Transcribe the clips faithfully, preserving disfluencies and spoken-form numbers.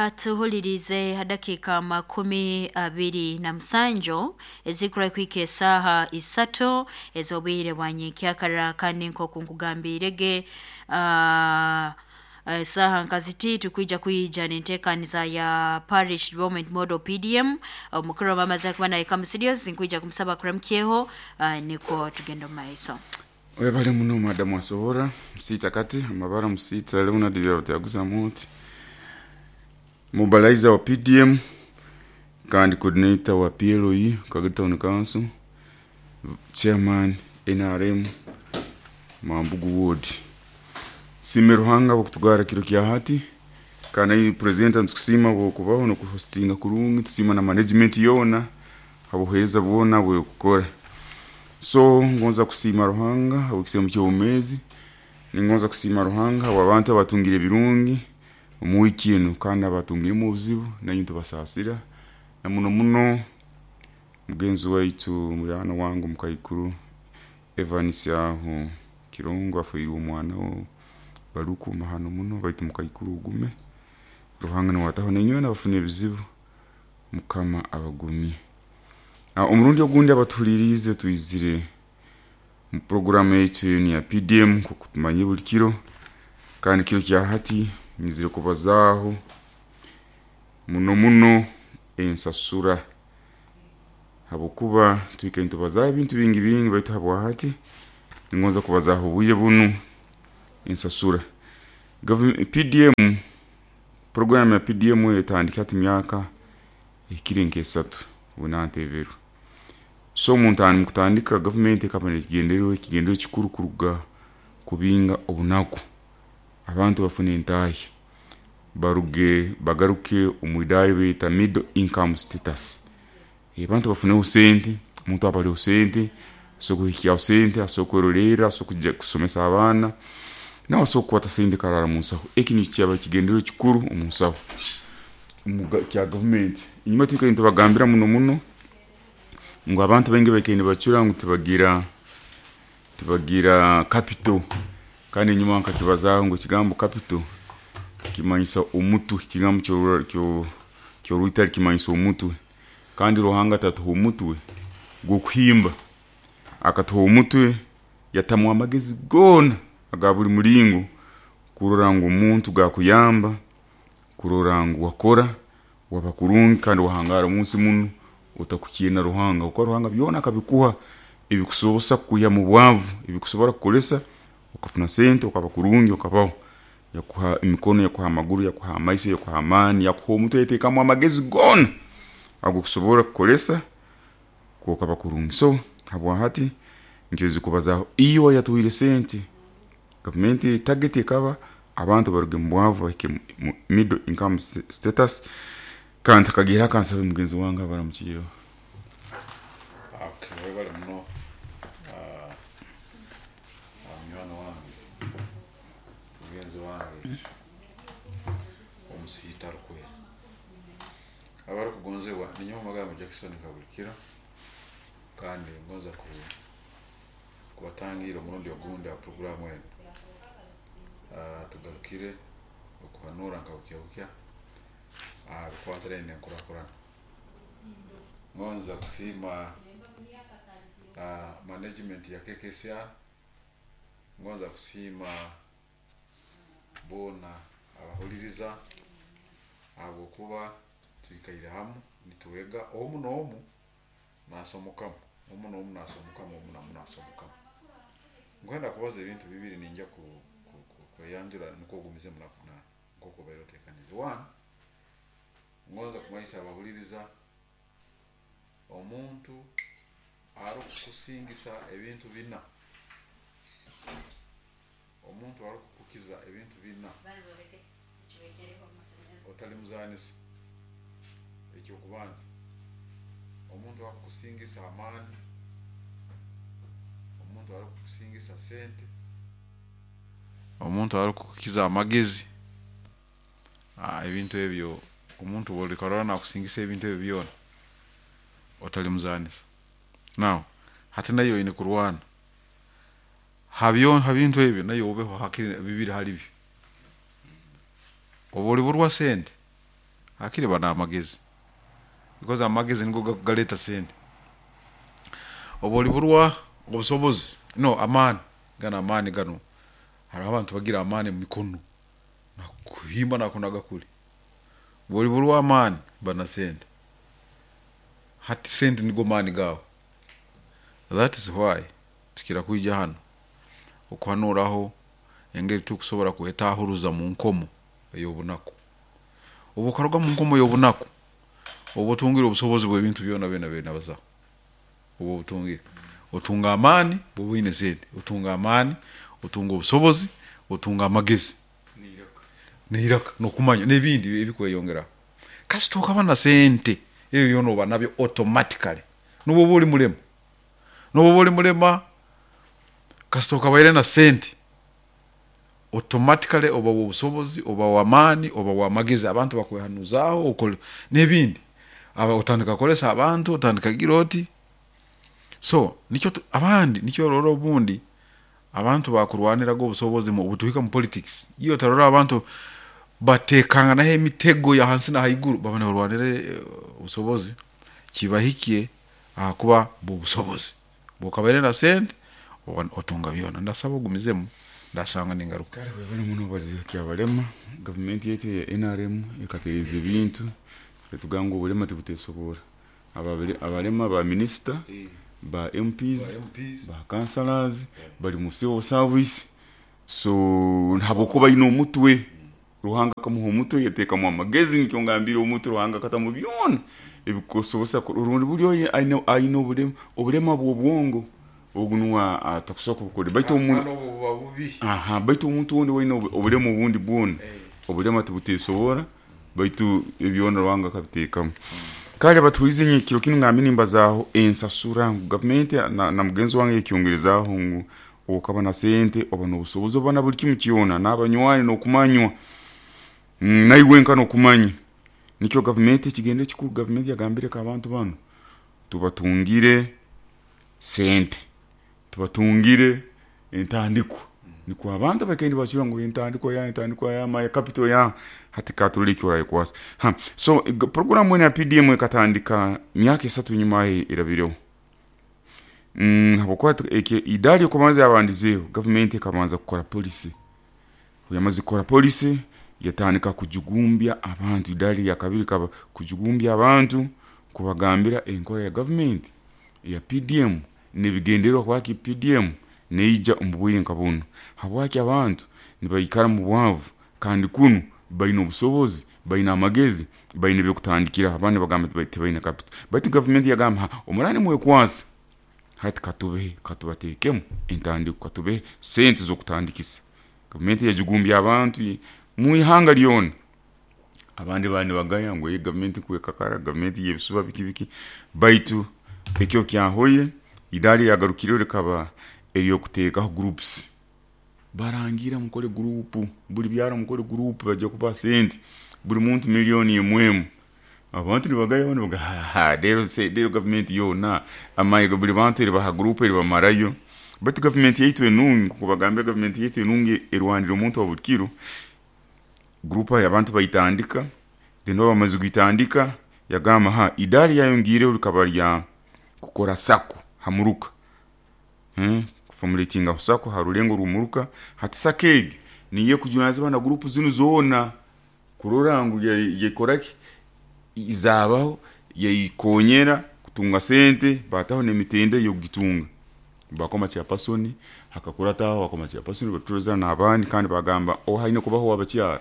Atuhulirize hadakika makumi abiri na musanju ezikura kwika esaaha isatu ez'obwire bwa nyenkyakara. Kandi nk'oku nkugambirege, uh, esaaha nkaziti tukwija kwija nenteekaniza ya Parish Development Model P D M. Omukuru w'amamaze kuba naye kamu studios, nkwija kumusaba kuramukyeho, uh, nikwo tugenda omu maiso. Webale muno, madamu. Asobora musiita kati amabara musiita Leonard Byabutyaguza muti mobilizer wa P D M kandi coordinator wa P L O E Kagadi Town Council, chairman N R M Mambugu Ward. Sime Ruhanga bwokutugara kiro kya hati, kandi president ntukusiima bwokubaho nokuhostinga kurungi. Tusiima na management yoona habuheeza bwona bwekukora. So ngonza kusiima Ruhanga habwekisemu ky'obumezi, ningonza kusiima Ruhanga habw'abantu abatungire ebirungi omu wiiki enu, kandi abatungiremu obuzibu nainye tubasaasira, na muno muno mugenzi waitu, muliraano wange omukaikuru Evans aho Kirongo, afiirwe omwana we Baruku. Mahano muno, baitu mukaikuru ogume, Ruhanga niwe ataho. Nainywena abafuna ebizibu, Mukama abagumye. Omurundi ogundi abatuhuliriize, twizire mu poroguramu yaitu enu ya P D M nkoku tumanyire buli kiro. Kandi kiro kya hati nyizire kubazaaho muno muno ensasura, habwokuba twikaire nitubazaaho ebintu bingi bingi, baitu habwa hati ningonza kubazaaho obwire bunu ensasura. P D M, poroguramu ya P D M etandika hati myaka ehikire nk'esatu obu nanteberwe. So mukutandika gavumenti ekaba nekigendererwa, ekigendererwa ekikuru kuruga kubinga obunaku, abantu bafune entahya, baruge bagaruke omu idaara eribeta middle income status. Abantu bafuneho sente. Omuntu aba aliho sente asobora kuhikyaho sente, asobora kwerolerra, asobora kusomesa abaana, nawe asobora kukwata sente akarara munsaho. Eki nikyo kyaba ekigendererwa ekikuru omunsaho kya gavumenti. Enyuma twikaire nitubagambira muno muno ngu abantu baingi baikaire nibacura ngu tibagira tibagira capital. Kandi enyuma nkakibazaaho ngu ekigambo capital kimanyisa omutwe, ekigambo kyorwitari kimanyisa omutwe, kandi Ruhanga atatuhe omutwe gwokuhimba, akatuha omutwe yatamu amagezi goona aga buli mulingo kurora ngu omuntu gakuyamba kurora ngu wakora, waba kurungi kandi wahangara omunsi munu otakukyena Ruhanga, habwokuba Ruhanga byona akabikuha ebikusobozesa kukwiha mubwavu, ebikusobora kukukolesa okafuna sente, okaba kurungi, okabaho. Yakuha emikono, yakuha amaguru, yakuha amaiso, yakuha amaani, yakuha omutwe, yateekamu amagezi goona agokusobora kukolesa okaba kurungi. So habwahati nkyezi kubazaaho iwe ayatuhaire sente. Gavumenti target ekaba abantu baruge mubwavu bahike mu middle income status. Kandi ntakagiire, kansabe mugenzi wange abaramukireho. Okay, webale muno, ah, munywani wange, mugenzi wange omusiita arukwera, abarukugonzebwa. Ninyowe magambo Jackson Kabulikiro, kandi ngonza ku kubatangira omurundi ogundi aha poroguramu enu. Ah, tugarukire okuhanura nka bukya bukya aha bikwatiraine n'enkurakurana. Ngonza kusiima ah, management ya K K C R, ngonza kusiima boona abahuliriza, ahabwokuba twikaire hamu nitwega, omu n'omu nasomokamu, omu n'omu nasomokamu, omu n'omu nasomokamu. Nkwenda kubaza ebintu bibiri, ninjya ku, ku, ku, kweyanjura nukwo ogumizemu na, na nk'oku obaire otekanize. One, ngonza kumanyisa abahuliriza, omuntu arukukusingisa ebintu bina, omuntu arukukukiza ebintu bina, otalimuzanisa. Ekyokubanza, omuntu arukukusingisa amaani, omuntu arukukusingisa sente, omuntu arukukukiza amagezi. ah, ebintu ebyo, omuntu bwolikarora nakusingisa ebintu ebyo byona, otalimuzanisa. Now hati nayo oine kurwana habyo, ha bintu ebyo nayo obeho hakiri bibiri hali byo. Oba oliburwa sente. Akiri bana amagezi, because amagezi nigo galeta sente. Oba oliburwa obusobozi, no amaani gano, amaani gano, hariho abantu bagira amaani mu mikono nakuhimba nakunaga kuli. Bwoliburwa amaani, bana sente. Hati sente nigo maani gawe. That is why tukira kwija hano okuhanuraho engeri tukusobora kwetahuruza mu nkomo ey'obunaku. Obu okaruga mu nkomo y'obunaku, obu otungire obusobozi bw'ebintu byona byona byona bazaho. Obu obutungire, otunga amaani. Bwoba oine sente, otunga amaani, otunga obusobozi, otunga amagezi n'iraka n'okumanya n'ebindi ebikweyongeraho. Kasita okaba na sente, ebyo byona oba nabyo automatically. N'obu oba oli mulema, n'obu oba oli mulema, kasita okabaire na sente, automatically oba w'obusobozi, oba w'amaani, oba w'amagezi, abantu bakwehanuzaaho, okole n'ebindi. Aba otandika kukolesa abantu, otandika gira oti. So nikyo abandi nikyo orora obundi abantu bakurwaniraga obusobozi. Obutuhika mu politics, iyo otarora abantu batekanganaho emitego ya hansi na haiguru, baba nibarwanira obusobozi kibahikye, ahakuba bw'obusobozi. Bwokabaire na sente, otunga byona. Ndasaba ogumizemu, ndasanga ningaruka. Kale webale muno obalize kyabalema. Gavumenti yaitu ya N R M ekatereeza ebintu, etugamba ngu obulema tibutesobora. Abalema ba minisita, ba M Ps, ba councillors, bali mu civil service. So habwokuba aine omutwe, Ruhanga akamuha omutwe, yateekamu amagezi. Nikyo ngambire, omutwe Ruhanga akatamu byona ebikusobozesa. Rundi buli oyo aine aine obulema, obulema bw'obwongo, ogu nuwe atakusobora kubukora, baitu aha, baitu omuntu ondi waine obulema obundi bwona, obulema tibutesobora, baitu ebyona Ruhanga akabiteekamu. Kale batuhulize, ekiro kinu ngambe nimbazaaho ensasura ngu gavumenti na, na mugenzi wange yakyongerezaaho ngu okaba na sente, oba n'obusobozi, oba na buli kimu kyona, n'abanywani n'okumanywa, naiwe nka n'okumanya. Nikyo gavumenti ekigendo ekikuru, gavumenti yagambire ko abantu banu tubatungire sente, tubatungire entandikwa, nikwo abantu bakaire nibacura ngu entandikwa ya entandikwa ya my capital ya hati katurole eki orayekwasa. Ha, so programu enu ya P D M ekatandika myaka esatu enyuma erabireho. mm, habwokuba idari yokubanza yabandizeeho, gavumenti ekabanza kukora policy. Yamaze kukora policy, yatandika kujugumbya abantu. Idari lya kabiri kaba kujugumbya abantu, kubagambira enkora ya gavumenti eya P D M n'ebigendererwa kwaki P D M neija omu bwire nka bunu, habwaki abantu nibaikara mu bwavu kandi kunu baine obusobozi, baine amagezi, baine ebyokutandikiraho. Abandi bagamba tibaine capital, baitu gavumenti yagamba, omurani mwekwasa, hati katubehe, katubateekemu entandiko, katubehe sente z'okutandikisa. Gavumenti yajugumbya abantu mu ihanga lyona. Abandi bali nibagaya ngu gavumenti kwekakara, gavumenti y'ebisuba, biki biki, baitu ekyo kyahoire. Idari yagarukireho likaba eryokuteekaho groups. Barangira mukore group, buli byaro mukore group, bajja kubaha sente, buli muntu miliyoni emu emu. Abantu nibagaya, abandi nibaga, rero rero gavumenti yoona amahe buli bantu eribaha group eribamarayo. Baitu gavumenti yaitu enungi, nkuko bagambire, gavumenti yaitu enungi erwanira omuntu wa buli kiro. Group abantu bayitandika, then obu bamaze kugitandika, yagamba ha idari yayongiireho likaba lya kukora SACCO hamuruka, hmm? Kuformulatinga SACCO ha rulengo rw'omuruka. Hati SACCO egi niyo ekujunanizibwa na gurupu zinu zoona kurora ngu yekoraki, zabaho, yayikonyera kutunga sente, bataho n'emitendera y'okugitunga. Bakoma chairperson, hakakurataho bakoma chairperson, batuza n'abandi. Kandi bagamba o haine kubaho abakyara,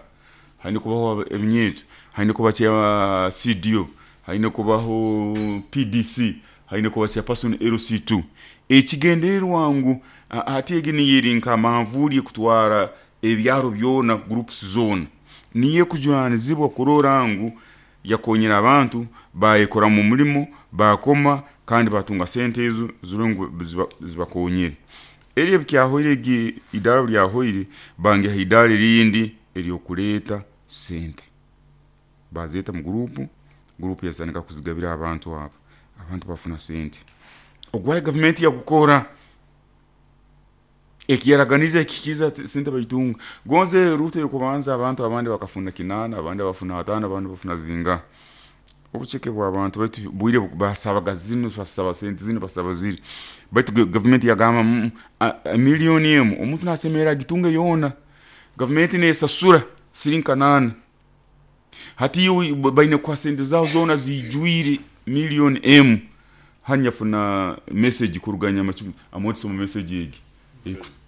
haine kubaho ebinyeeto, haine kuba cha C D O, haine kubaho P D C, haine kuba chairperson L C two. Ekigendererwa ngu hati egi niyo eri nka manvuuri ekutwara ebyaro byona, groups zoona, niyo ekujunanizibwa kurora ngu yakonyera abantu bayekoramu omulimo, bakoma kandi batunga sente ezo zirole ngu zibakonyere. Eri ebikyahoire, egi idara lyahoire, bangiha idara erindi eryokuleeta sente, bazeta mu gurupu, gurupu yazitandika kuzigabira abantu abo, abantu bafuna sente. Ogwayo gavumenti yagukora. Ekiyaraganize ekikiza sente baitunga. Gonze Ruto yokubanza abantu abandi bakafuna kinana, abandi bafuna atano, abandi bafuna zinga. Obucheke bwa abantu baitu bwire basabaga zino, basaba sente zino, basaba ziri. Baitu government yagamba mm, milioni emu omuntu nasemera agitunge yona. Government nesasura siringi kanana. Hati iwe baine kwa sente zao zona zijwire milioni emu. Hanya funa message kuruganya machumu amotso mu message egi.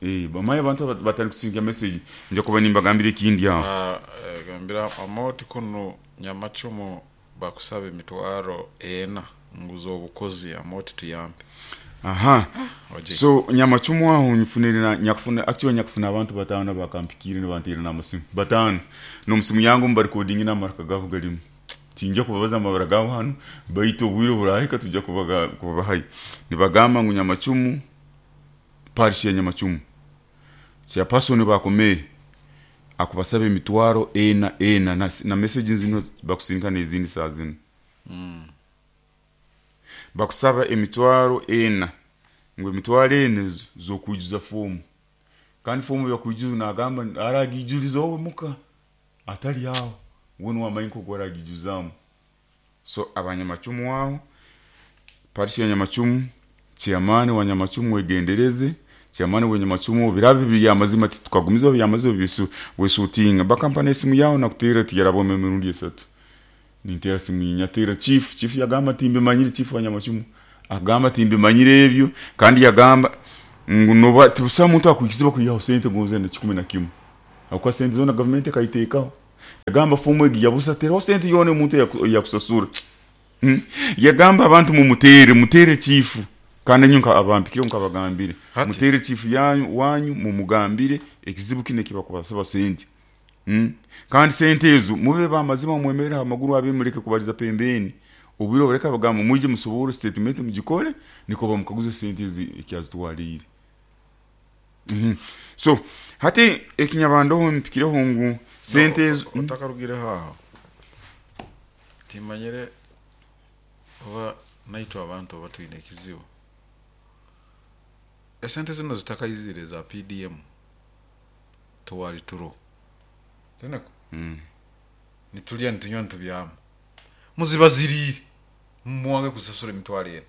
Eh, bamaye abantu batari kusinga message nje kuba nimbagambire ikindi yaho. Ah, gambira amoti kuno Nyamachumu bakusaba emitwaro ena nguzo obukozi amoti tuyambe. Aha. Oje. So Nyamachumu aho nyifunire na nyakufuna actually nyakufuna abantu batano bakampikire ne bantira na musimu. Batano. No musimu yangu mba recording na maraka gabo galimu. Tinja kubabaza amabara gabo hano baitu obwire burahika tujja kubaga kubabahayi. Nibagamba ngu Nyamachumu parish ya Nyamachumu. Sia person bakomere akubasaba emitwaro ena ena na, na message zino bakusinka n'izindi saa zino. Mm. Bakusaba emitwaro ena ngo emitwaro ena zokujuza fomu. Kandi fomu yakujuza nagamba aragijuliza wowe muka atali yawo wowe wamaye nko gwaragijuzamu. So abanyamachumu wao parish ya Nyamachumu, chairman wa Nyamachumu wegendereze, chairman wa Nyamachumu birabi bya mazima tukagumiza bya mazima bisu wesutinga bakampana esimu yao na kutera tiyarabo emirundi esatu. Nintera simu nyatera chief, chief yagamba timbe manyire chief wa Nyamachumu agamba timbe manyire ebyo kandi yagamba ngu noba tubusa muntu akuikiziba kuyaho sente gonze na kikumi na kimwe. Akwa sente zona government kaitekaho. Yagamba fomu egi yabusa tero sente yone muntu yakusasura. Hmm? Yagamba abantu mu mutere, mutere chief kandi nyunka abampikire nkabagambire. Mutere chief yanyu wanyu mumugambire ekizibu kine kiba kubasaba sente. Hmm? Kandi sente ezo mube ba mazima mwemera amaguru abimureke kubaliza pembeni. Ubiro bareka bagamba muje musobora statement mugikore niko bamukaguze sente ezi ekyazitwalire. Mm -hmm. So hati ekinyabando mpikireho ngu sente ezo otakarugire haho. Timanyire oba naitwa abantu batwine ekizibu. Esente zino zitakayizire za P D M tuwali turo. Teneko? Mm. Nitulia nitunywa nitubyama. Muzibazirire. Mwange kusasura emitwaro ena.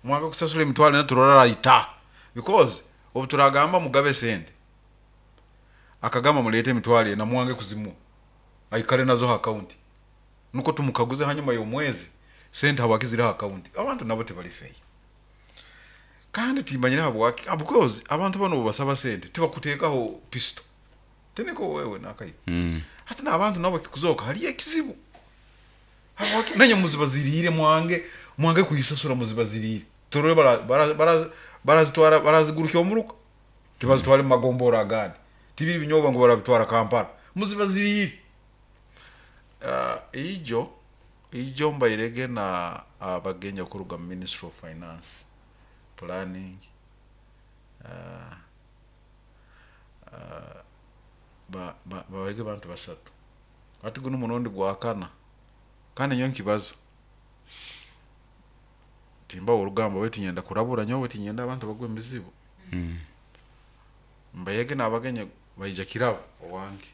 Mwange kusasura emitwaro ena turora ita. Because obuturagamba mugabe sente. Akagamba mulete emitwaro ena mwange kuzimu. Aikare nazo account. Nuko tumukaguze hanyuma y'omwezi sente habakizira account. Abantu nabo tebali fair. Kandi timanyira habwaki because abantu bano basaba sente tibakutekaho pistol. Teneko wewe nakayi. Mm. Hata na abantu nabo kikuzoka hali ekizibu. Habwaki nanye muzibazirire mwange mwange kuyisasura muzibazirire. Torore bara bara barazitwara barazigurukyo omuruka. Tibazitwara mu magombora agandi. Tibiri binyoba ngo barabitwara Kampala. Muzibazirire. Uh, ijo ijo mbairege na abagenya uh, kuruga Ministry of Finance Planning uh, uh, ba ba babege bantu basatu. Ati guno munondi gwakana. Kandi nyo nkibaza. Timba urugamba wetu nyenda kurabura nyo wetu nyenda abantu bagwe mizibu. Mm. Mbayege nabagenya bayija kirabo owange.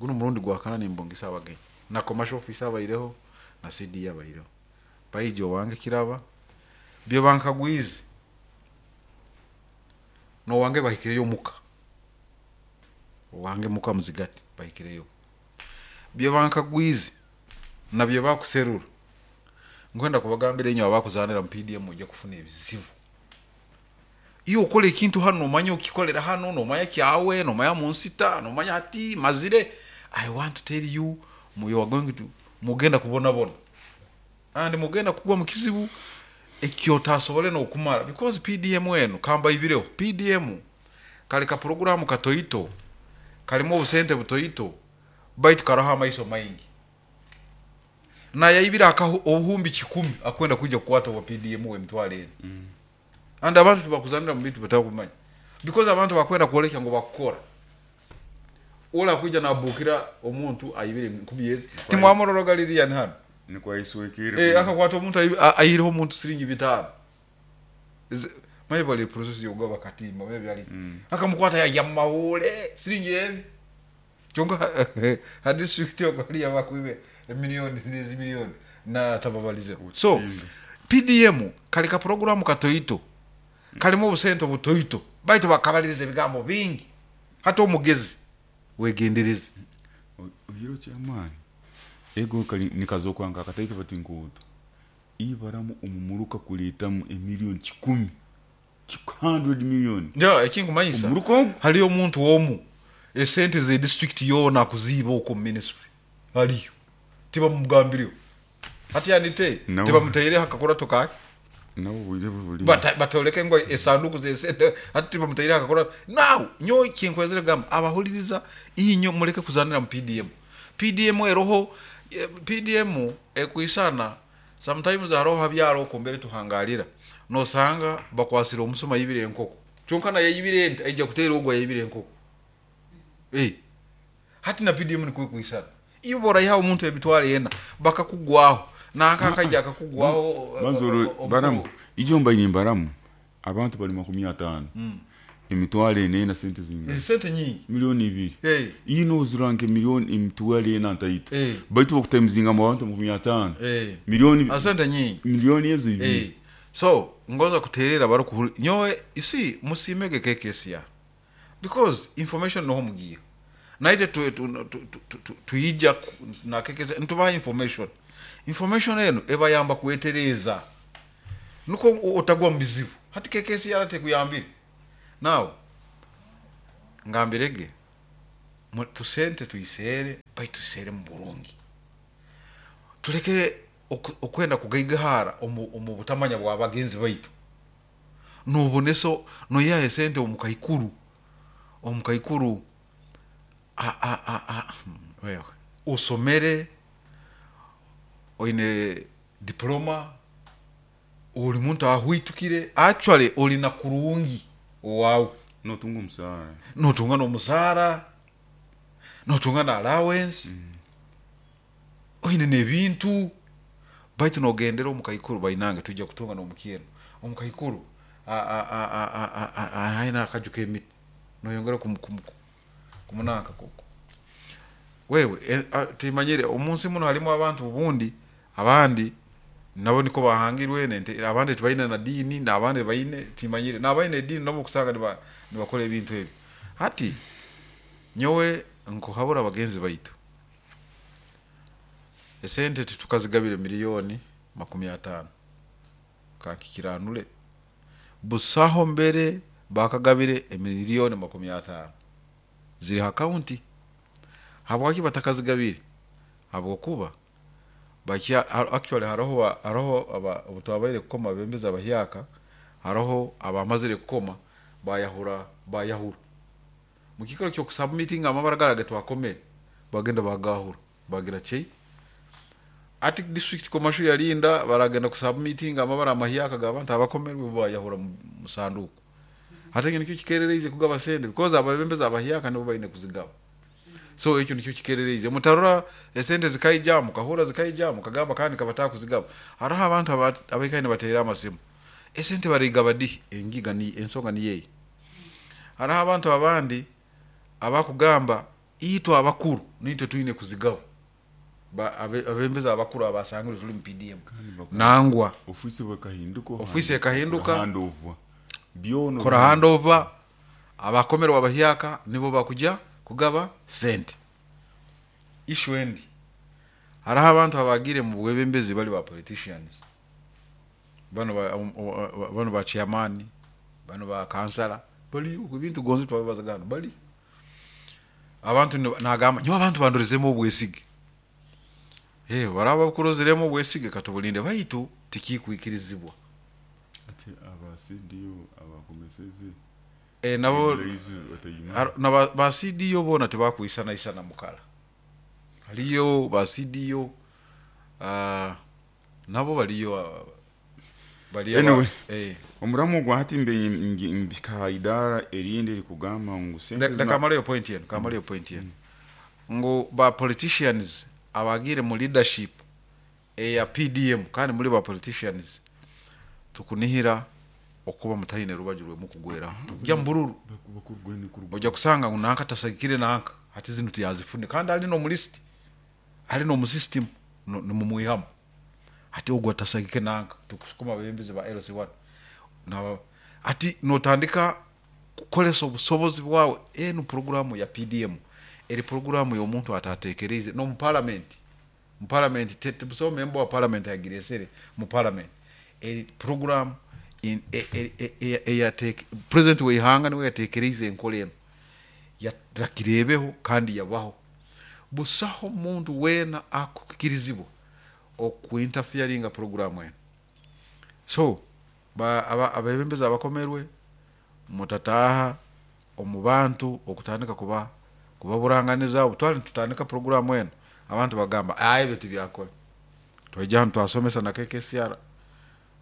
Guno murundi gwakana nimbongisa abagenya. Na commercial officer bayireho na C D abayireho. Bayije owange kiraba. Byo bankagwizi. No wange bahikireyo muka. Owange muka muzigati bahikireyo. Byo bankagwizi na byo bakuserura. Ngwenda kubagambira enyo abakuzanira mu P D M ujya kufuna ebizibu. Iyo ukole ekintu hano omanye okikolera hano nomanya kyawe nomanya munsita nomanya ati mazire. I want to tell you you are going to mugenda kubona bona. And mugenda kugwa mu kizibu ekyo tasobole no kumara because P D M eno kamba ibireho P D M kali ka program katoito kalimo obusente butoito baitu karaha amaiso maingi. Na yaibira akaho obuhumbi kikumi akwenda kuja kukwata wa P D M we mtwale eno. Mm. And abantu bakuzanira mu bintu batakumanya because abantu bakwenda kuoleka ngo bakukora. Ola kuja nabukira omuntu ayibire nkubiyezi timwamororo galiriya hano nikwa iswekire eh akakwata omuntu ayireho omuntu siringi bitano Maye bali process yogaba katimba maybe ali akamukwata yajya mu mahule siringi ebi kyonka ha district yokali yabakwibe emiliyoni nezi miliyoni na tababalize. So P D M kali ka programu katoito, kalimu obusente obutoito, baitu bakabaliriza ebigambo bingi. Hata omugezi wegendereze. Ohiro kyamaani ego kali nikazokwanka akataito bati nkuuto ibaramu omumuruka kuleetamu emiliyoni kikumi, one hundred million. Njo ekinkumanyisa. Omuruka ogu. Haliyo omuntu omu esente ze district yoona akuziiba okwo mu ministry, haliyo tibamugambiriho hati anite. No. Tibamutaireho akakurato kake. Nabo obwire bwe buli. Bata- batoleke ngo esanduku zesente, hati tibamutaireho akakurato. Now nyo kinkwezere kugamba abahuliriza, inyo muleke kuzanira mu P D M. P D M eroho, eh, P D M ekwisana sometimes haroho habyaro okumbere tuhangalira, nosanga bakwasire omusuma yibire enkoko, kyonka naye yibire ente, aija kuteera ogwa yibire enkoko. Eh, hati na P D M nikwe kwisana, iyo borayiha omuntu emitwaro ena bakakugwaho nanka akajja akakugwaho. Banzoro baramu ijo mbaine mbaramu abantu bali makumi ataano, emitwaro ena ena, sente zingana? Esente nyingi. Miliyoni ibiri. Eh. Ino oziranke miliyoni emitwaro ena ntaito. Eh. Baitu bakutaimizinga mu bantu makumi ataano, Eh. miliyoni Asente nyingi. Miliyoni ezo ibiri. Eh. So ngoza kuterera bari nyowe isi musimege K K C R because information noho mugiye naite tu- tu- tu- tu- tu- tuyija ku- na K K C R ntubaha information. Information eno ebayamba kwetereza nuko o- otagwa mu bizibu. Hati K K C R tekuyambire. Now ngambirege mu- tusente tuyisere, baitusere mu burungi, tuleke oku- okwenda kugaigahara omu omu butamanya bwa bagenzi baitu. Noboneso noyaha esente omukaikuru omukaikuru a- a- a- a- hmm, wewe osomere, oine diploma, oli muntu ahwitukire, actually oli na kurungi owawe. Notunga omusaara. Notunga n'omusaara, notunga na allowance, oine n'ebintu, baitu nogendera omukaikuru bainange tujja kutunga n'omukyeno omukaikuru aina akaju k'emiti, noyongera kumu- kumu- kumunanka kuku wewe. eh, a- timanyire omunsi muno halimu abantu obundi abandi nabo niko bahangirwe nente, abandi tibaine na dini n'abandi baine, timanyire n'abaine edini nabo kusanga niba nibakora ebintu ebyo. Hati nyowe nkuhabura bagenzi baitu, esente titukazigabire miliyoni makumi ataano kankikiranure, busaho mbere bakagabire emiliyoni makumi ataano ziri ha county. Habwaki batakazigabire? Habwokuba bakya actually hariho ba- hariho aba- obu twabaire kukoma abembezi abahyaka, hariho abamazire kukoma bayahura bayahura mu kikaro kyokusubmitinga amabara gara getwakomere, bagenda bagahura bagira chei ati district commercial yalinda baragenda kusubmitinga amabara amahyaka gabantu abakomerwe, bayahura mu mu sanduku. Ate nikyo kikerereize kugaba sente because ababembezi abahyaka nibo baine kuzigaba. So ekyo nikyo kikerereize mutarora esente zikaija, mukahura zikaija, mukagamba kandi kabataka kuzigaba. Hariho abantu aba- abaikaine bateera amasimu, esente barigaba di? Engiga ni ensonga ni yeyi. Hariho abantu abandi abakugamba itwe abakuru nitwe twine kuzigaba. Ba- abe- abembezi abakuru abasangire tuli mu P D M nangwa. Ofisi bakahinduka. Ofisi ekahinduka. Handover byono. Kora handover, abakomerwa abahyaka nibo bakuja kugaba sente. Issue endi, hariho abantu abagire mu bwebembezi bali ba politicians, bano ba, um, um, bano ba chairman, bano ba kansala bali ebintu gonzi twabibazagano bali abantu ni- nagamba nyo abantu bandorezemu obwesige. Eh, baraba bakurozeremu obwesige, katubulinde, baitu tikikwikirizibwa. Ati aba C D O abakomeseze Eh, nabo ebiraizi batayima. Ar- na ba, ba C D O bona tebakwisana isana mukala, haliyo ba C D O, uh, nabo baliyo, uh, bali aba- Anyway. Eh, omuramu gwa hati mbe mbika idara erindi erikugamba ngu sente le- leka amaleyo point yenu, kamaleyo point yenu ngu ba politicians abagire mu leadership eya P D M kandi muri ba politicians tukunihira. Okuba mutahine rubaju rwemu kugweraho tujya mbururu ojja kusanga ngu nanka tasagikire nanka hati zinu tiyazifune kandi ali n'omu list, ali n'omu system, nimumwihamu hati ogwo atasagike nanka tukusukuma abebembezi ba L C one na ati notandika kukolesa obusobozi bwawe. Enu programu ya P D M eri programu y'omuntu atatekereize no mu parliament. Mu parliament tebusobo member wa parliament agiresere mu parliament eri program in eya president w'ihanga niwe yatekereize enkola eno yarakirebeho kandi yabaho. Busaho muntu wena akukirizibwa okuinterferinga programu eno. So ba abebembezi abakomerwe mutataha omu bantu okutandika kuba kubaburanganiza obutwali tutandika programu eno abantu bagamba aye ebyo tibyakora. Twajja hano twasomesa na K K C R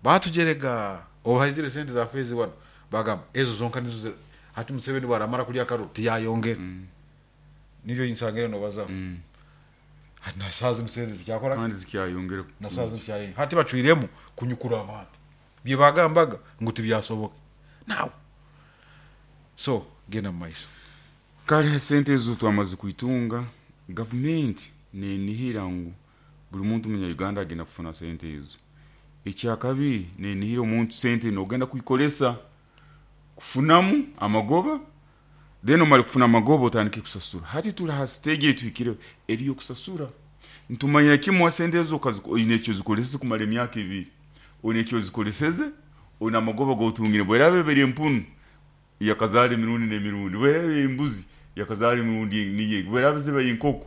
batujerega obaizire sente za phase one bagamba ezo zonka nizo hati Museveni baramara kulya karo tiyayongera mm. Nibyo insangire no baza mm. Hati nasaza sente zikyakora kandi zikyayongera nasaza zikyayongera hati bacwiremu kunyukura abantu bye bagambaga ngo tibyasoboke now. So genda maiso kale sente ezo twamaze kuitunga government nenihira ngu buli muntu munya Uganda agenda kufuna sente ezo. Ekyakabiri nenihira omuntu sente nogenda kuikolesa kufunamu amagoba then omali kufuna amagoba otandike kusasura. Hati tuli ha stage tuhikire eriyo kusasura. Ntumanya kimwe sente ezo oyine ekyo zikoleseze kumara emyaka ebiri, oyine ekyo zikoleseze oyine amagoba gotungire bwerabe beri empunu yakazala emirundi n'emirundi, bwerabe embuzi yakazala emirundi niye, bwerabe ziba inkoko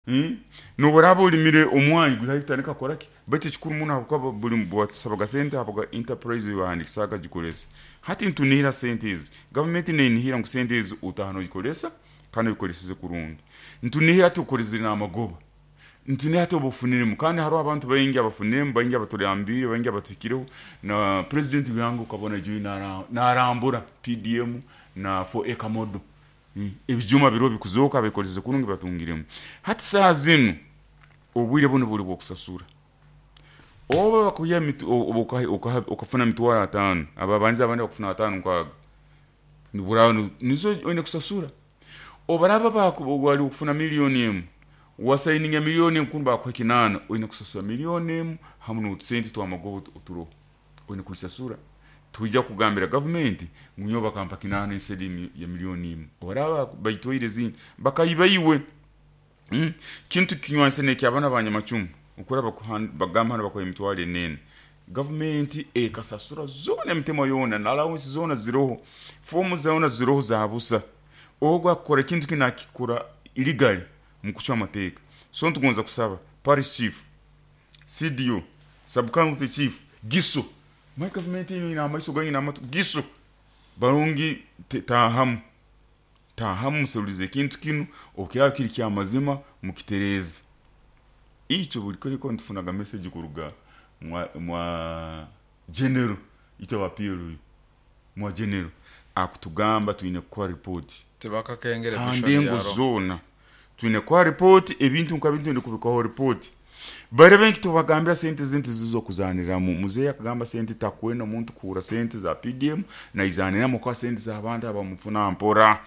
hmm? Noboraba olimire omwanyi gutandika koraki baitu ekikuru muno habwokuba buli bwatusabaga sente habaga enterprise yohandikisaka gikolesa. Hati ntunihira sente ezi gavumenti nenihira ngu sente ezi utahano ogikolesa kandi ogikoleseze kurungi. Ntunihira ati okolezire n'amagoba, ntunihira ati obufuniremu kandi hariho abantu baingi abafuniremu, baingi abatulambire, baingi abatuhikireho na president w'ihanga ukabona juyi narambura P D M na four acre model ebijuma biro bikuzoka bikoleze kurungi batungiremu. Hati saa zinu obwire buno buli bwokusasura. Oba bakuya okafuna mitwaro atano ababanza abandi bakufuna atano nkaga niburawo nizo oyine kusasura. Obaraba bali kufuna milioni emu wasaininga milioni emu kumba bakuha kinana oyine kusasura milioni emu hamu n'otusente twamagoba oturo oyine kuisasura. Tuija kugambira gavumenti ngu nyowe bakampa kinana instead ya milioni emu. Obaraba baitwaire zindi bakayibaiwe mm? Kintu kinywanse nekyabana abanyamacumu okuraba bagamba hano bakuha emitwaro enene. Gavumenti ekasasura zona emitemo yona na allowance zona ziroho fomu zona ziroho za busa. Ogwo akora ekintu kinakikora illegal mu kucwa amateeka. So ntugonza kusaba parish chief, C D O, sub county chief, giso my government ina amaiso ganyi n'amatu giso barungi tahamu tahamu muserulize ekintu kinu okiraba kiri kya mazima mukitereze. Icho buli kuliko ntufunaga message kuruga mwa, mwa general ito wa P L U mwa general akutugamba tuine kwa report tebakakengere handengo zona tuine kwa report ebintu nka bintu ndikubikaho report bare benki tubagambira sente zente zizo kuzaniramu. Muzeya akagamba sente takwena omuntu kura sente za P D M na izaniramu kwa sente za abantu abamufuna mpora.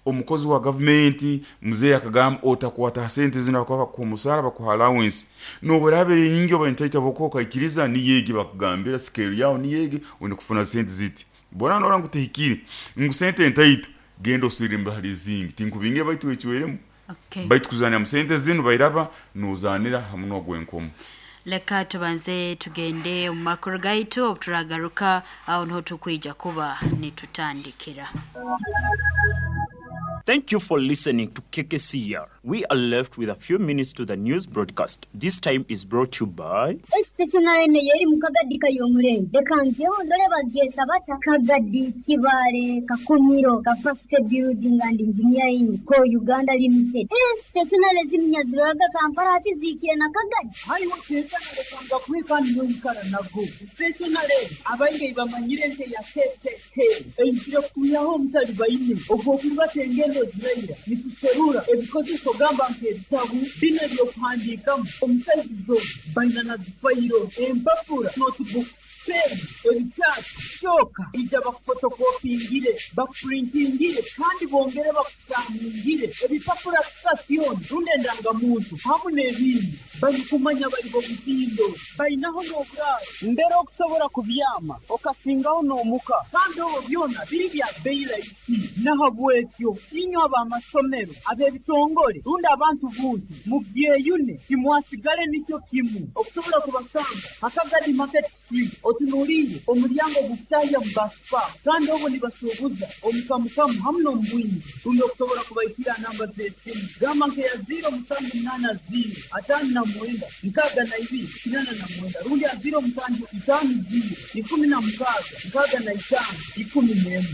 Omukozi wa government muzeya akagamba otakwata sente zino akaba ku musara bakuha allowance noborabere nyingi oba bokoka ikiriza niyegi bakugambira scale yao niyegi unikufuna sente ziti bora nora ngutihikire ngu sente entaito genda osirimba hali zingi tinkubinge baitu ekiweremu. Okay. Baitu kuzanira mu sente zinu bairaba nuzanira hamwe n'ogwenkomo. Leka tubanze tugende mu makuru gaitu obuturagaruka aho niho tukwija kuba nitutandikira. Thank you for listening to K K C R. We are left with a few minutes to the news broadcast. This time is brought to you by Stationary yeri mukagadi kayomurenge. Dekangyo ndole bageta bata Kagadi Kibale Kakumiro Capacity Building and Engineering Co Uganda Limited. Stationary ziminyaziraga Kampala ati zikire na Kagadi. Hayo tetana lekanga kwikani yikara nago. Stationary abainge bamanyire nte ya K K K. Einjire kuyaho mutali bayine. Ogwo kubatenge ziraira nituserura ebikozeso gamba nk'ebitabu bino ebyokuhandiikamu omusaizo baina na zifayiro empapura notebooks Peeni, ebikyati, kyoka ija bakufotokopingire, bakupurintingire kandi bongere bakusaningire ebipapura sitasioni rundi endangamuntu hamu n'ebindi. Balikumanya bali b'omutindo, balinaho n'oburaaro mbere okusobora kubyama okasingaho n'omuka, kandi obwo byona biri bya bei rahisi. Nahabwekyo inywe ab'amasomero, ab'ebitongore rundi abantu buntu mubyeyune, timwasigale nikyo kimu. Okusobola kubasanga Hakagadi Market Street, otunuliire omulyango ogukutahya mu basipa, kandi obwo nibasuubuza omukamukamu hamu n'omubwingi. Rundi okusobola kubaikira namba z'esimu gamba nkeya ziro musanju munaana ziro ataano na mwenda nkaaga na ibiri kinaana na mwenda rundi a ziro musanju itaano ziro ikumi na mukaaga nkaaga na itaano ikumi n'emu.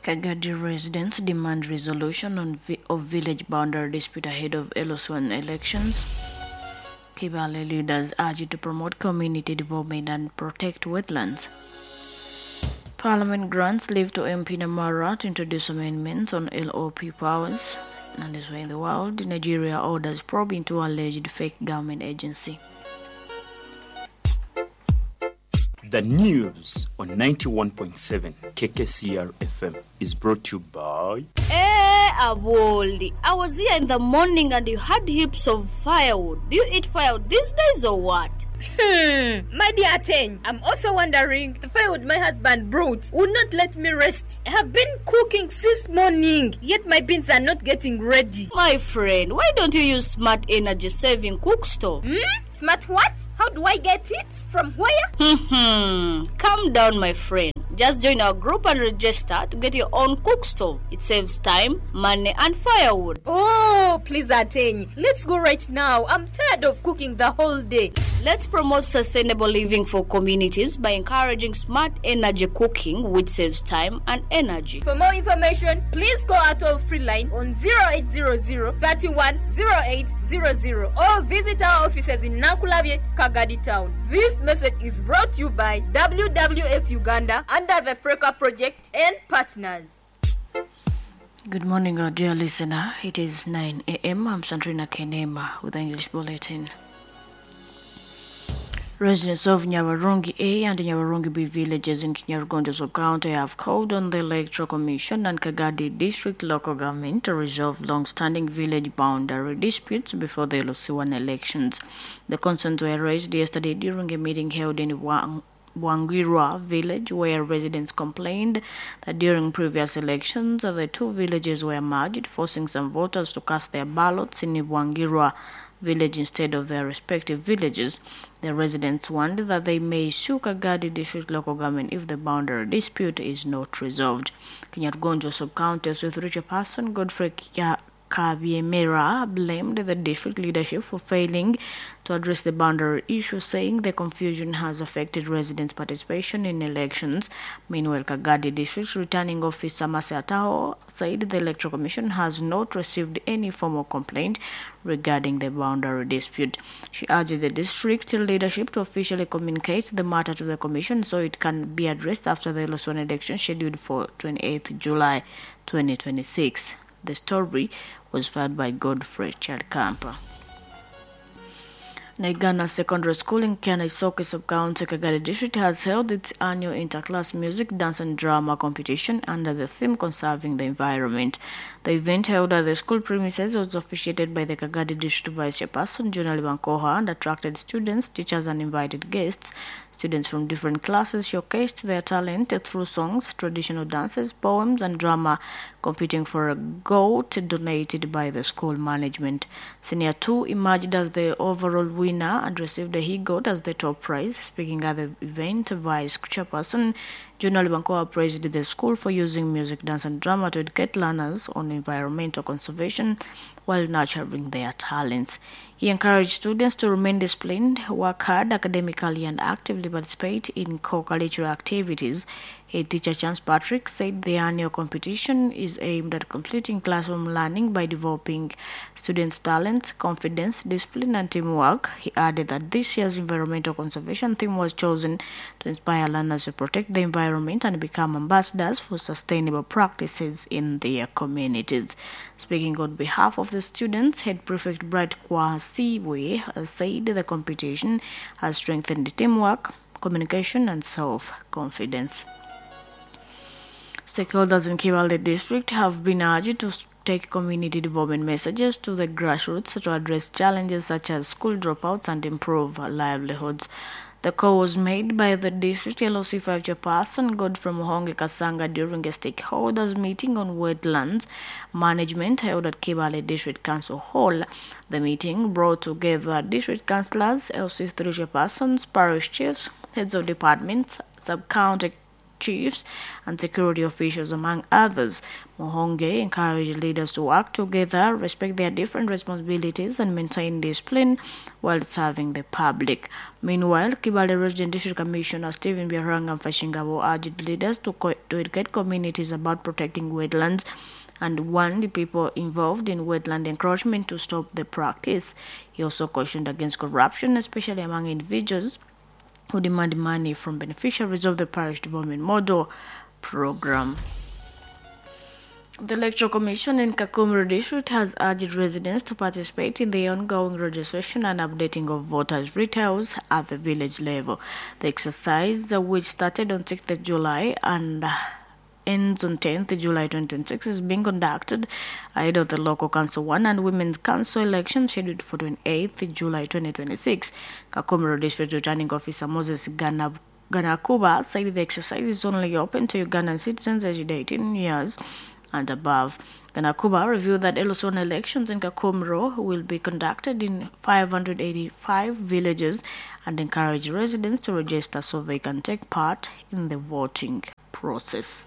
Kagadi residents demand resolution on vi- of village boundary dispute ahead of L O one elections. Kibale leaders urge to promote community development and protect wetlands. Parliament grants leave to M P Namara to introduce amendments on L O P powers. And this way in the world, Nigeria orders probe into alleged fake government agency. The news on ninety-one point seven K K C R F M is brought to you by... Hey, Aboldi, I was here in the morning and you had heaps of firewood. Do you eat firewood these days or what? Hmm, my dear Teng, I'm also wondering, the firewood my husband brought would not let me rest. I have been cooking since morning, yet my beans are not getting ready. My friend, why don't you use smart energy saving cook stove? Hmm? Smart what? How do I get it? From where? Hmm, calm down, my friend. Just join our group and register to get your own cook stove. It saves time, money, and firewood. Oh, please, Ateng. Let's go right now. I'm tired of cooking the whole day. Let's promote sustainable living for communities by encouraging smart energy cooking, which saves time and energy. For more information, please call our toll-free line on zero eight zero zero, thirty-one, zero eight zero zero or visit our offices in Nankulabye, Kagadi Town. This message is brought to you by W W F Uganda under the Freka Project and partners. Good morning, our dear listener. It is nine a m. I'm Sandrina Kenema with the English Bulletin. Residents of Nyawarungi A and Nyawarungi B villages in Kinyarugondo sub-county have called on the Electoral Commission and Kagadi District Local Government to resolve long-standing village boundary disputes before the L O C one elections. The concerns were raised yesterday during a meeting held in Wang Wangirwa village, where residents complained that during previous elections, the two villages were merged, forcing some voters to cast their ballots in Wangirwa village instead of their respective villages. The residents warned that they may sue Kagadi District Local Government if the boundary dispute is not resolved. Kinyarugonjo sub-county with person Godfrey Kya Kabyemera blamed the district leadership for failing to address the boundary issue, saying the confusion has affected residents' participation in elections. Meanwhile, Kagadi District Returning Officer Mase Atao said the Electoral Commission has not received any formal complaint regarding the boundary dispute. She urged the district leadership to officially communicate the matter to the commission so it can be addressed after the L O C one election scheduled for twenty-eighth July twenty twenty-six. The story was filed by Godfrey Chalkampa. Naigana Secondary School in Kyana-Isoke Sub-County, Kagadi District has held its annual interclass music, dance and drama competition under the theme Conserving the Environment. The event, held at the school premises, was officiated by the Kagadi District Vice Chairperson, Jonah Libankoha, and attracted students, teachers and invited guests. Students from different classes showcased their talent through songs, traditional dances, poems and drama, competing for a goat donated by the school management. Senior two emerged as the overall winner and received a he-goat as the top prize. Speaking at the event, Vice Chairperson Jonah Libankoa praised the school for using music, dance and drama to educate learners on environmental conservation while nurturing their talents. He encouraged students to remain disciplined, work hard academically and actively participate in co-curricular activities Head teacher Chance Patrick said the annual competition is aimed at completing classroom learning by developing students' talents, confidence, discipline, and teamwork. He added that this year's environmental conservation theme was chosen to inspire learners to protect the environment and become ambassadors for sustainable practices in their communities. Speaking on behalf of the students, Head Prefect Bright Kwasiwe said the competition has strengthened teamwork, communication, and self-confidence. Stakeholders in Kibaale District have been urged to take community development messages to the grassroots to address challenges such as school dropouts and improve livelihoods. The call was made by the district L O C five chairperson Godfrey Muhonge Kasanga during a stakeholders meeting on wetlands management held at Kibaale District Council Hall. The meeting brought together district councillors, L C three chairpersons, parish chiefs, heads of departments, sub-county chiefs and security officials, among others. Muhonge encouraged leaders to work together, respect their different responsibilities, and maintain discipline while serving the public. Meanwhile, Kibaale Resident District Commissioner Stephen Biaranga Mfashingabo urged leaders to, co- to educate communities about protecting wetlands and warned the people involved in wetland encroachment to stop the practice. He also cautioned against corruption, especially among individuals who demand money from beneficiaries of the Parish Development Model Program. The Electoral Commission in Kakumiro District has urged residents to participate in the ongoing registration and updating of voters' details at the village level. The exercise, which started on sixth of July and ends on tenth of July twenty twenty-six, is being conducted ahead of the local council one and women's council elections scheduled for twenty-eighth of July twenty twenty-six. Kakumiro District Returning Officer Moses Ganab Ganakuba said the exercise is only open to Ugandan citizens aged eighteen years and above. Ganakuba revealed that L O C one elections in Kakumiro will be conducted in five hundred eighty-five villages and encouraged residents to register so they can take part in the voting process.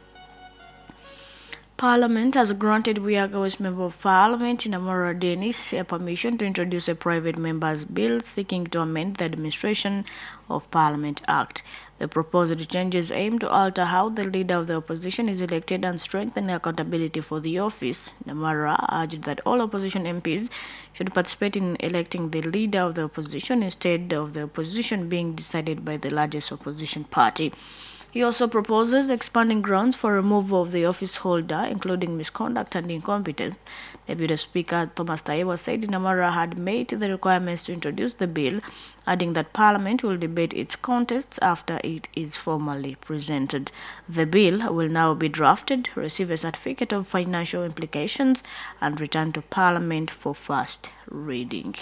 Parliament has granted Buyaga West Member of Parliament Namara Dennis a permission to introduce a private member's bill seeking to amend the Administration of Parliament Act. The proposed changes aim to alter how the leader of the opposition is elected and strengthen accountability for the office. Namara urged that all opposition M Ps should participate in electing the leader of the opposition instead of the opposition being decided by the largest opposition party. He also proposes expanding grounds for removal of the office holder, including misconduct and incompetence. Deputy Speaker Thomas Taiwa said Namara had met the requirements to introduce the bill, adding that Parliament will debate its contests after it is formally presented. The bill will now be drafted, receive a certificate of financial implications, and return to Parliament for first reading.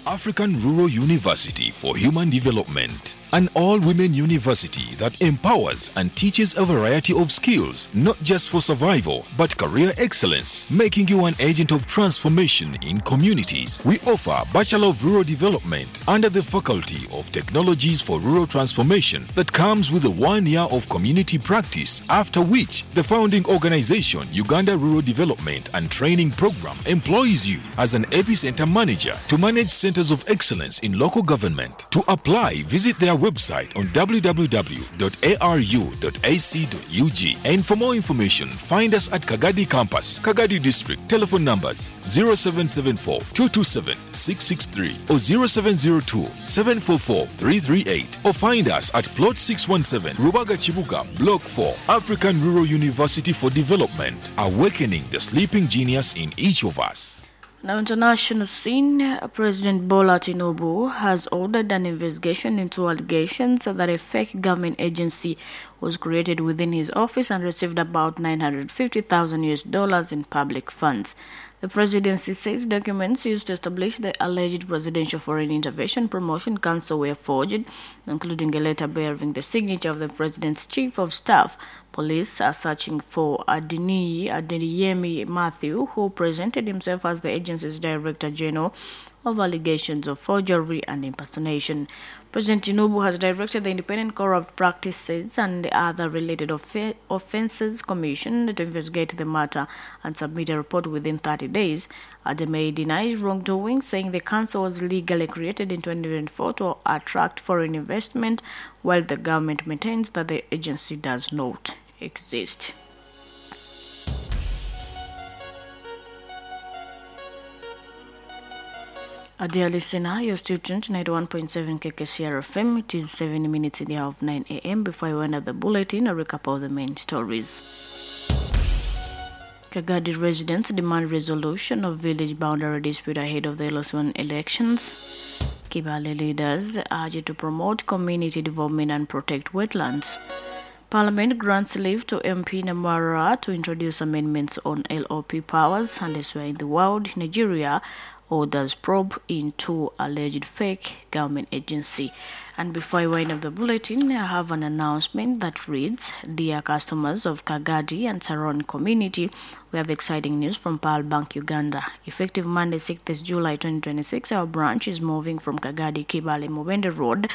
African Rural University for Human Development, an all-women university that empowers and teaches a variety of skills, not just for survival, but career excellence, making you an agent of transformation in communities. We offer Bachelor of Rural Development under the Faculty of Technologies for Rural Transformation that comes with a one year of community practice, after which the founding organization, Uganda Rural Development and Training Program, employs you as an epicenter manager to manage centers of excellence in local government. To apply, visit their website on w w w dot a r u dot a c dot u g. And for more information, find us at Kagadi Campus, Kagadi District. Telephone numbers zero seven seven four, two two seven, six six three or zero seven zero two, seven four four, three three eight, or find us at Plot six one seven, Rubaga Chibuga, Block four, African Rural University for Development, awakening the sleeping genius in each of us. Now, international scene, President Bola Tinubu has ordered an investigation into allegations that a fake government agency was created within his office and received about nine hundred fifty thousand U S dollars in public funds. The presidency says documents used to establish the alleged Presidential Foreign Intervention Promotion Council were forged, including a letter bearing the signature of the president's chief of staff. Police are searching for Adeniyi Adeyemi Matthew, who presented himself as the agency's director general of allegations of forgery and impersonation. President Tinubu has directed the Independent Corrupt Practices and Other Related Off- Offences Commission to investigate the matter and submit a report within thirty days. Ademe denies wrongdoing, saying the council was legally created in twenty twenty-four to attract foreign investment, while the government maintains that the agency does not exist. Uh, dear listener, you're still tuned to ninety-one point seven K K C R F M. It is seven minutes in the hour of nine a.m. Before I end up the bulletin, a recap of the main stories. Kagadi residents demand resolution of village boundary dispute ahead of the L S one elections. Kibale leaders urge to promote community development and protect wetlands. Parliament grants leave to M P Namara to introduce amendments on L O P powers. And elsewhere in the world, Nigeria orders probe into alleged fake government agency. And before I wind up the bulletin, I have an announcement that reads, Dear customers of Kagadi and Saron community, we have exciting news from Pearl Bank Uganda. Effective Monday, sixth of July twenty twenty-six, our branch is moving from Kagadi Kibale Mubende Road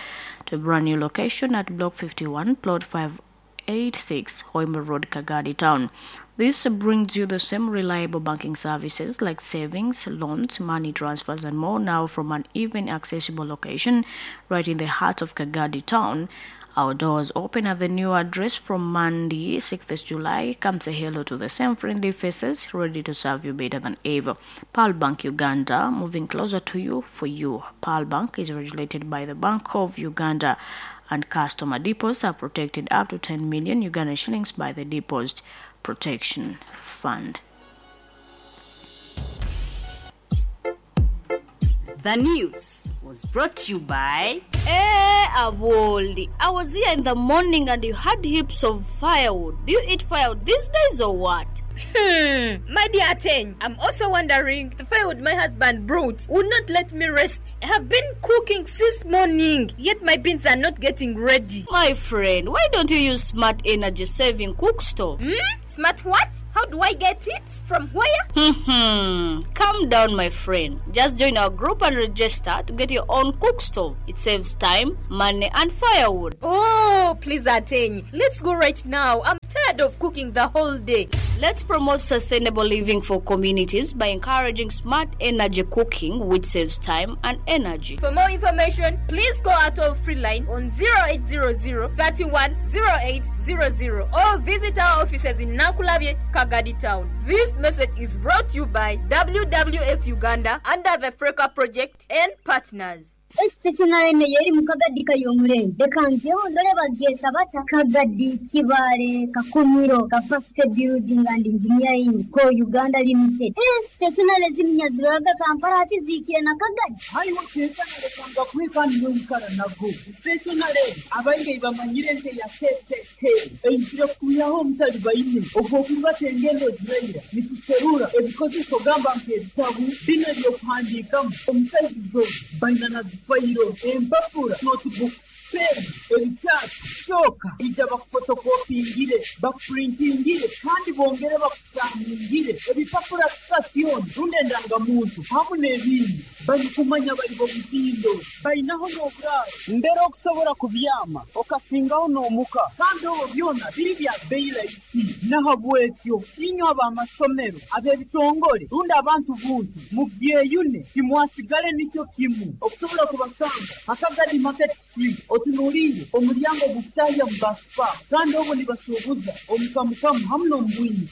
to a brand new location at Block fifty-one, Plot five eighty-six, Hoima Road, Kagadi Town. This brings you the same reliable banking services like savings, loans, money transfers, and more, now from an even accessible location right in the heart of Kagadi Town. Our doors open at the new address from Monday, sixth of July. Come say hello to the same friendly faces, ready to serve you better than ever. Pearl Bank Uganda, moving closer to you for you. Pearl Bank is regulated by the Bank of Uganda, and customer deposits are protected up to ten million Ugandan shillings by the Deposit Protection Fund. The news was brought to you by... Hey, Aboli, I was here in the morning and you had heaps of firewood. Do you eat firewood these days or what? Hmm, my dear Ten, I'm also wondering, the firewood my husband brought would not let me rest. I have been cooking since morning, yet my beans are not getting ready. My friend, why don't you use smart energy saving cook stove? Hmm? Smart what? How do I get it? From where? Hmm. Calm down, my friend. Just join our group and register to get your own cook stove. It saves time, money, and firewood. Oh, please, Aten, let's go right now. I'm tired of cooking the whole day. Let's promote sustainable living for communities by encouraging smart energy cooking, which saves time and energy. For more information, please call our toll-free line on zero eight zero zero, thirty-one, zero eight zero zero or visit our offices in Nakulabye, Kagadi Town. This message is brought to you by W W F Uganda under the Freka Project and partners. Stationary yeri mu Kagadi kayomurembe reka ngeho ndore babyeta bata Kagadi Kibale Kakumiro Capacity Building and Engineering Co Uganda Limited. Stationary zimnyaziraga Kampala ati zikire na Kagadi hariho tekana reka kwikani n'oikara nago stationary abaingi bamanyire nte ya K K K eizire kuyaho omutali baine ogwokuba engendo ziraira nituserura ebikozeso gamba nk'ebitabu bino ebyokuhandiikamu omusaizizo baina na fayiro empapura notebook pen ebikyapa kyoka ija bakufotokopingire bakupurintingire kandi bongere bakusaningire ebipapura sitasioni rundi endangamuntu hamu n'ebindi barikumanya bari bomutindo bainaho n'oburaaro mbere okusobora kubyama okasingaho n'omuka kandi obwo byona biri bya beyi rahisi nahabwekyo inywe ab'amasomero ab'ebitongole rundi abantu buntu mubyeyune timwasigale nikyo kimu okusobola kubasanga Akagadi Market Street otunuulire omulyango gukutahya mu basipa kandi obwo nibasuubuza omukamukamu hamu n'omubwingi.